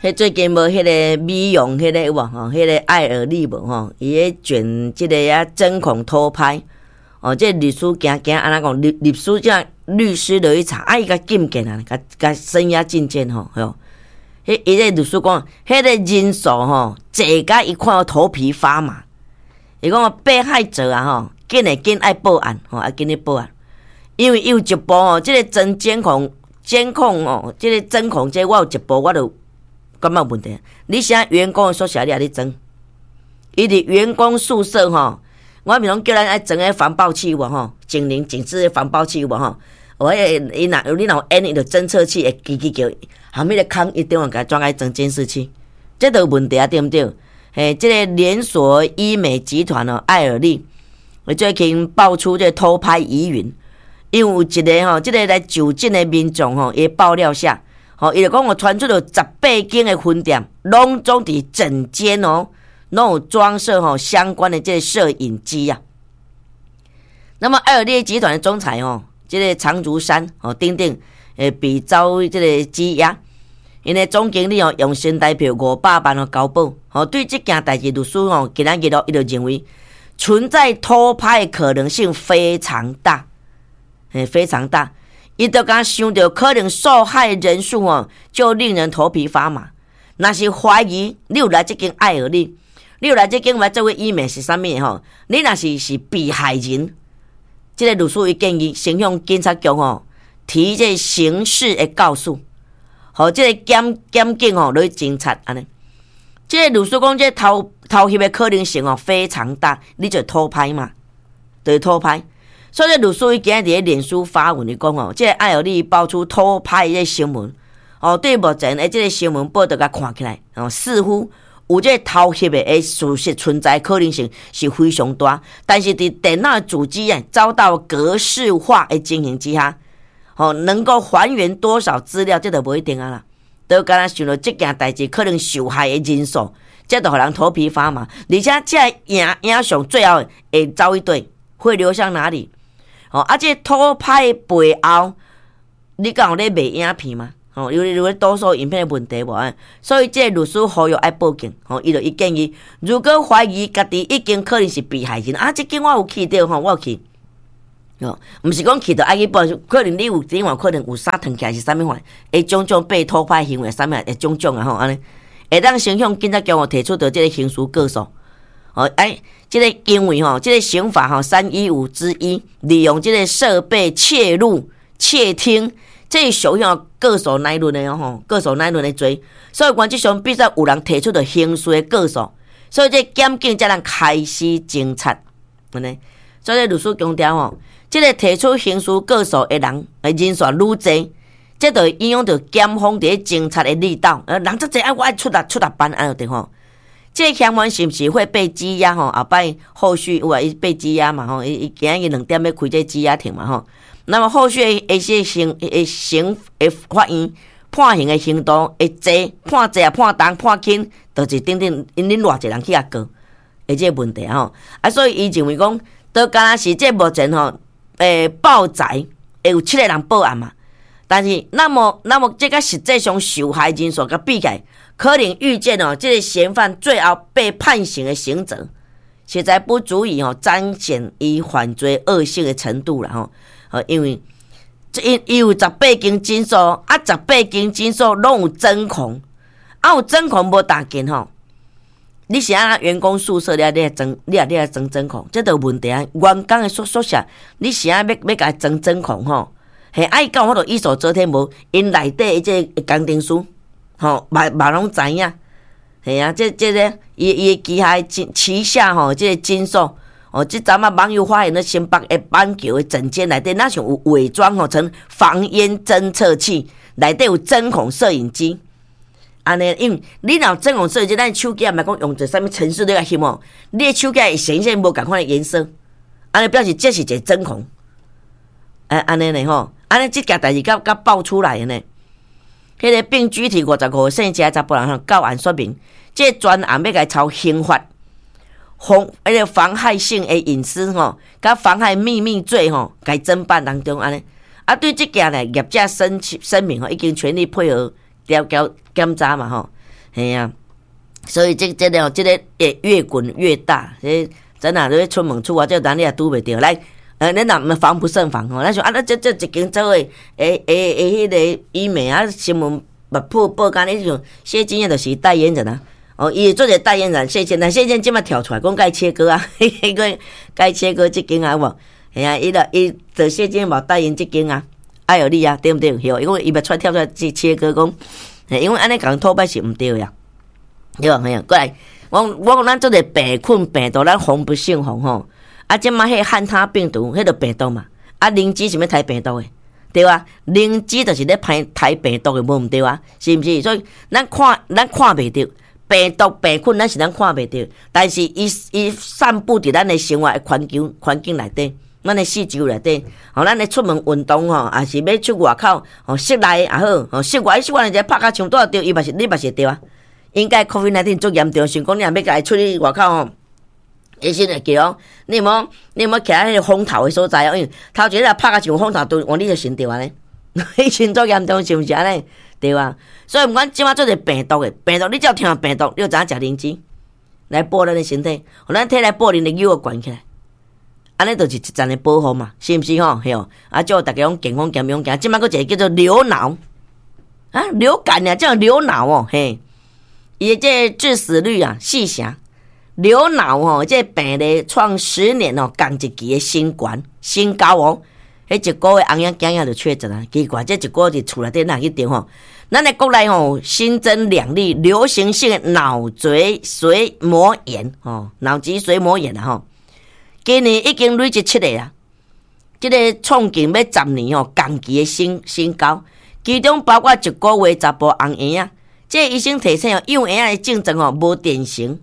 彼最近無彼个美容彼个有無吼？彼个愛爾利無吼？伊咧捲這个啊針孔偷拍，哦，這個律師驚驚按怎講？律師這律師落去查，啊，伊共禁見啊，共共聲押禁見吼，吼。彼伊個律師講，彼個人數吼，濟甲伊看到頭皮發麻。伊講被害者啊吼，緊會緊愛報案吼，愛緊去報案，因為伊有一步吼，這個裝監控監控哦，這個針孔這我有一步我就感覺有問題。你寫員工的宿舍你也咧裝？伊佇員工宿舍吼，我毋是講叫咱愛裝彼防爆器無吼，警鈴警示的防爆器有無吼？我彼個伊若你若有按伊就偵測器會吱吱叫，後面個空一定會共裝愛裝監視器，這都有問題啊，對毋對？嘿，這個連鎖醫美集團哦，愛爾利，最近爆出這個偷拍疑雲，因為有一個吼，這個來就診的民眾吼，伊爆料下，吼，伊就講我傳出了18間的分店，攏總佇診間哦，攏有裝設吼相關的這個攝影機啊。那麼愛爾利集團的總裁哦，這個長竹山哦，等等，會被遭這個羈押。𪜶的總經理哦，用新台票500萬哦交保。吼，對這件代誌，律師吼今仔日咯，伊就認為存在偷拍的可能性非常大，嘿，非常大。伊就敢想著可能受害人數哦，就令人頭皮發麻。若是懷疑你有來這間愛爾利，你有來這間來做醫美是啥物吼？你若是是被害人，這個律師伊建議先向警察局吼提這個刑事的告訴。予這個檢警吼來偵查按呢。這個律師講，這個偷翕的可能性哦非常大，你就偷拍嘛，就是偷拍。所以這律師伊今日佇咧臉書發文伊講哦，這個愛爾利爆出偷拍的新聞，哦，對目前的這個新聞報道共看起來，哦，似乎有這個偷翕的事實存在可能性是非常大，但是佇電腦主機啊遭到格式化的情形之下，吼，能夠還原多少資料，這就無一定啊啦。都敢若想著這件代誌可能受害的人數，這就予人頭皮發麻。而且這個影像最後會走去佗，會流向哪裡？哦，啊，這偷拍背後，你敢有咧賣影片嗎？吼，有多數影片的問題無啊？所以這個律師呼籲愛報警。吼，伊就伊建議，如果懷疑家己已經可能是被害人，啊，這間我有去著吼，我有去。哦，毋是講去著愛去報，可能你有電話，可能有啥藏起來是啥物款，會種種被偷拍行為，啥物會種種啊吼，按呢，會當先向警察局提出著這個刑事告訴。哦，哎，這個因為吼，這個刑法吼315之1，利用這個設備竊入、竊聽，這屬於告訴乃論的吼，告訴乃論的罪，所以原則上必須有人提出著刑事的告訴，所以這檢警才能開始偵查，按呢，所以律師強調吼，這個提出刑事告訴的人，人數愈濟，這就會影響著檢方佇咧偵查的力道。人遮濟啊，我愛出力出力辦按呢對吼。這個嫌犯是毋是會被羈押吼？後擺後續有啊，伊被羈押嘛吼？伊今仔日2點欲開這羈押庭嘛吼？那麼後續的一些刑的刑的法院判刑的程度會濟，判濟啊，判重判輕，就是等等，𪜶恁偌濟人去共告，的這個問題吼。啊，所以伊認為講，都敢若是這目前吼。報載會有七個人報案嘛？但是那麼這個實際上受害人數共比起來，可能預見哦，這個嫌犯最後被判刑的刑責，實在不足以哦彰顯伊犯罪惡性的程度啦吼。因為這伊有十八間診所，啊，十八間診所攏有針孔，啊，有針孔無同緊吼。你是按怎員工宿舍，你來裝，你來裝針孔，這就有問題啊！員工的宿舍，你是按怎欲共伊裝針孔吼？嘿，啊伊敢有法度一手遮天無？𪜶內底的這個工程師，吼，嘛嘛攏知影。嘿啊，這個伊伊旗下旗下吼，這個診所，哦，這陣仔網友發現咧新北的板橋的診間內底，若像有偽裝吼成防煙偵測器，內底有針孔攝影機。按呢，因為你若有針孔攝影機，咱手機也毋講用一個啥物程式咧來翕哦，你的手機會顯現無仝款的顏色，按呢表示這是一個針孔。哎，按呢呢吼，按呢這件代誌佮爆出來的呢。彼個病居體55歲姓謝查埔人吼，到案說明，這個專案欲共抄刑法，妨彼個妨害性的隱私吼，佮妨害秘密罪吼，共偵辦當中按呢。啊，對這件呢，業者聲明吼，已經全力配合調調檢查嘛吼。嘿啊，所以這個會越滾越大，這真啊，你出門出外，這咱你也拄袂著來。咱若毋防不勝防吼，咱想啊，咱這一間做的，欸，彼個醫美啊，新聞嘛報報刊，你像謝金燕就是代言人啊，哦，伊做一個代言人，謝金，但謝金這擺跳出來講共切割啊，彼個共切割這間啊，有無？嘿啊，伊就伊就謝金燕嘛代言這間啊，愛爾利啊，對毋對？對，因為伊嘛出來跳出來去切割講，因為按呢共討拍是毋對的啊，對吧？嘿啊，過來，我講咱做個病菌病毒，咱防不勝防吼。啊，這擺彼漢他病毒，彼個病毒嘛，啊，靈芝是欲刣病毒的，對啊？靈芝就是咧刣刣病毒的，無毋對啊？是毋是？所以咱看袂著病毒病菌，咱是咱看袂著，但是伊散布佇咱的生活的環境內底，咱的四周內底，吼，咱咧出門運動吼，抑是欲出外口，吼，室內也好，吼，室外室外一個拍甲像拄仔著，伊嘛是你嘛是會著啊。應該 COVID-19 足嚴重，想講你若欲共伊出去外口吼。醫生會叫講，你有無徛喺彼個風頭的所在哦？因為頭前若拍甲像風頭，都往你就先著按呢。彼時足嚴重，是毋是按呢？對啊。所以毋管這擺做者病毒的病毒，你只要聽病毒，你就知影食靈芝來補咱的身體，予咱體內補靈的又懸起來，按呢就是一層的保護嘛，是毋是吼？嘿哦，啊，祝大家攏健康健康行。這擺閣一個叫做流腦啊，流感啊，叫流腦哦，嘿，伊的這個致死率啊，四成。流腦吼，這個病例創10年哦，仝一期的新懸新高哦。彼一個月翁仔囝仔就確診啊，奇怪，這一個月佇厝內底哪去著吼？咱的國內吼新增兩例流行性的腦脊髓膜炎吼，腦脊髓膜炎啊吼。今年已經累積七例啊，這個創近欲10年吼仝期的新高，其中包括一個月查埔翁嬰仔。這個醫生提醒哦，幼嬰仔的症狀吼無典型。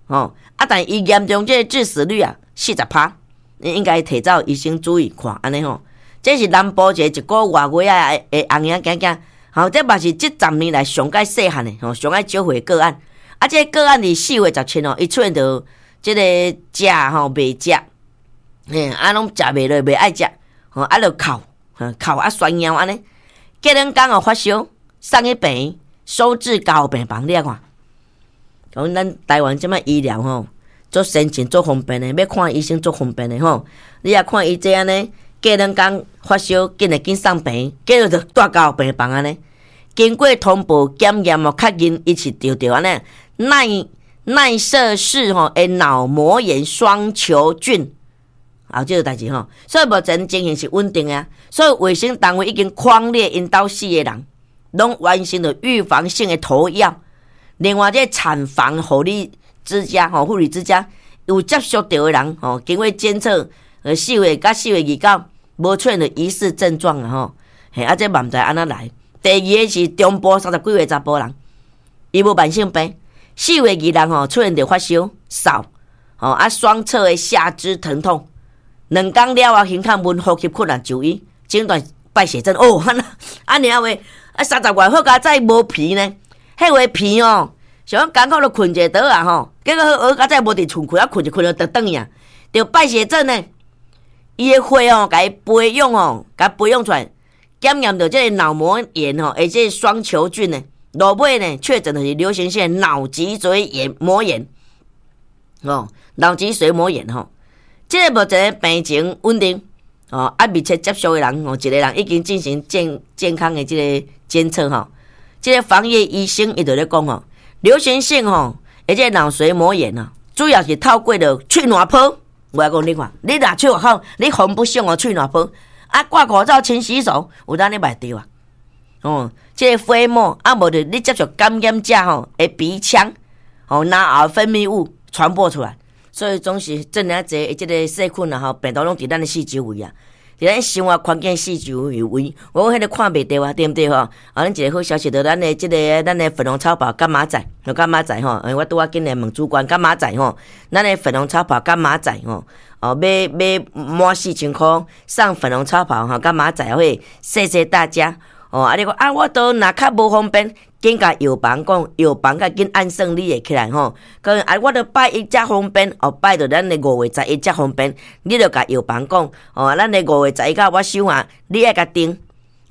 吼，啊！但伊嚴重，這個致死率啊，40趴，你應該提早醫生注意看，按呢吼。這是南部一個外月仔的翁嬰仔囝囝，吼，這嘛是這十年來上蓋細漢的吼，上蓋少歲個案。啊，這個個案佇4月17吼，伊出現著這個食吼袂食，嘿，啊，攏食袂落，袂愛食，吼，啊，就哭，哭啊，宣尿按呢。隔兩工哦發燒，送去病院，收治加護病房，你來看。講咱台灣這擺醫療吼，足先進、足方便的，欲看醫生足方便的吼。你若看伊這按呢，隔兩工發燒，緊來緊送病院，結果就蹛加護病房按呢。經過通報檢驗哦，確認伊是著著按呢奈瑟氏吼的腦膜炎雙球菌，啊，這個代誌吼。所以目前情形是穩定的啊。所以衛生單位已經匡列𪜶兜四個人，攏完成了預防性的投藥。另外，這個產房護理之家吼，護理之家有接觸著的人吼，經過檢測，4月佮4月29無出現著疑似症狀啊吼，嘿，啊，這嘛毋知按怎來。第二个是中部30幾歲查埔人，伊無慢性病，4月26吼出現著發燒、嗽，吼啊雙側的下肢疼痛，2工了後，胸口悶、呼吸困難就醫，診斷敗血症。哦，按呢啊話，啊30外好佳哉無鼻呢。彼話鼻哦，想講艱苦就睏一下桌仔吼，結果好佳哉無佇厝睏，啊睏一睏就轉轉去啊，著敗血症呢。伊的血哦，共伊培養哦，共培養出來，檢驗著這個腦膜炎吼，而且雙球菌呢，落尾呢確診的是流行性腦脊髓炎膜炎，哦，腦脊髓膜炎吼，這個目前病情穩定，哦，啊密切接觸的人哦，一個人已經進行健康的這個監測吼。這個防疫醫生伊就咧講吼，流行性吼，而且腦髓膜炎啊，主要是透過著喙瀾泡。我講你看，你若喙好，你防不勝哦，喙瀾泡啊，掛口罩、勤洗手，有當你嘛會著啊。哦，這個飛沫啊，無就你接觸感染者吼的鼻腔，吼，咽喉分泌物傳播出來，所以總是這爾濟這個細菌啊吼，病毒攏佇咱的四周圍啊。佇咱生活環境四周圍，我講彼個看袂著啊，對毋對吼？啊，咱一個好消息，就咱的這個咱的粉紅超跑柑仔仔，柑仔仔吼，我拄仔緊來問主管柑仔仔吼，咱的粉紅超跑柑仔仔吼，哦，買買滿4000箍送粉紅超跑吼，柑仔仔會，謝謝大家。哦，啊你講啊，我都若較無方便，緊共藥房講，藥房較緊按算你會起來吼。講啊，我著拜一才方便，哦，拜著咱的5月11才方便，你著共藥房講，哦，咱的五月十一到我收啊，你愛共訂，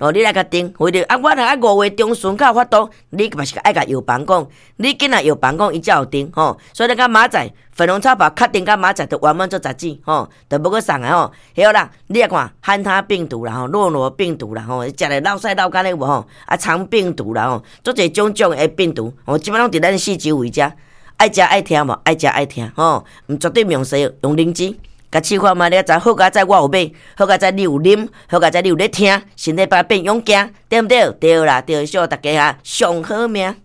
哦，你來共訂，或者啊，我若啊5月中旬才有法度，你嘛是愛共藥房講，你緊來藥房講，伊才有訂吼。所以咱佮明仔載粉紅草跑確定，佮明仔載就圓滿做雜誌吼，就無閣送的吼。好啦，你來看漢他病毒啦吼，諾羅病毒啦吼，食咧落屎落干的無吼，啊腸病毒啦吼，足濟種種的病毒，吼，這擺攏佇咱四周圍遮，愛食愛聽無？愛食愛聽吼，毋絕對毋用西藥，用靈芝。共試看覓，你知好佳哉我有買，好佳哉你有啉，好佳哉你有咧聽，身體變變勇健，對毋對？對啦，對，祝大家哈上好命。